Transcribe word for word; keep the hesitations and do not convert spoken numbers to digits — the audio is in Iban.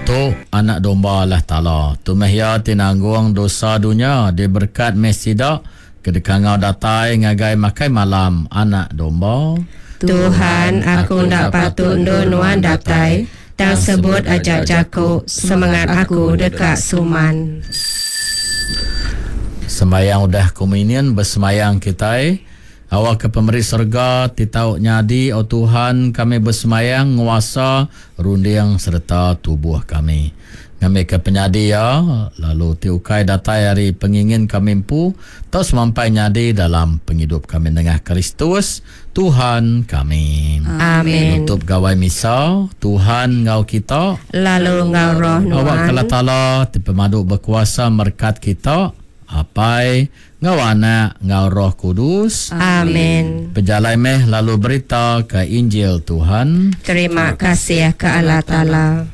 Tu Anak Domba Allah Taala. Tu meh iya ti nanggung dosa dunya, diberekat meh sida ke dikangau datai ngagai makai malam Anak Domba. Tuhan, aku enda patut endur nuan datai, tang sebut aja jaku, semengat aku deka suman. Sembayang udah komunion besemayang kitai. Awakka pemeri serega ti tau nyadi, O Tuhan, kami besemayang nguasa runding sereta tubuh kami. Ngambika penyadi iya, lalu ti ukai datai ari pengingin kami empu, tau semampai nyadi dalam pengidup kami nengah Kristus, Tuhan kami. Amin. Nutup gawai misa, Tuhan enggau kita. Lalu enggau roh Awak nuan. Allah Taala ti pemadu bekuasa merekat kita, Apai, enggau Anak, enggau Roh Kudus. Amin. Pejalai meh lalu berita ke Injil Tuhan. Terima kasih ke Allah Taala.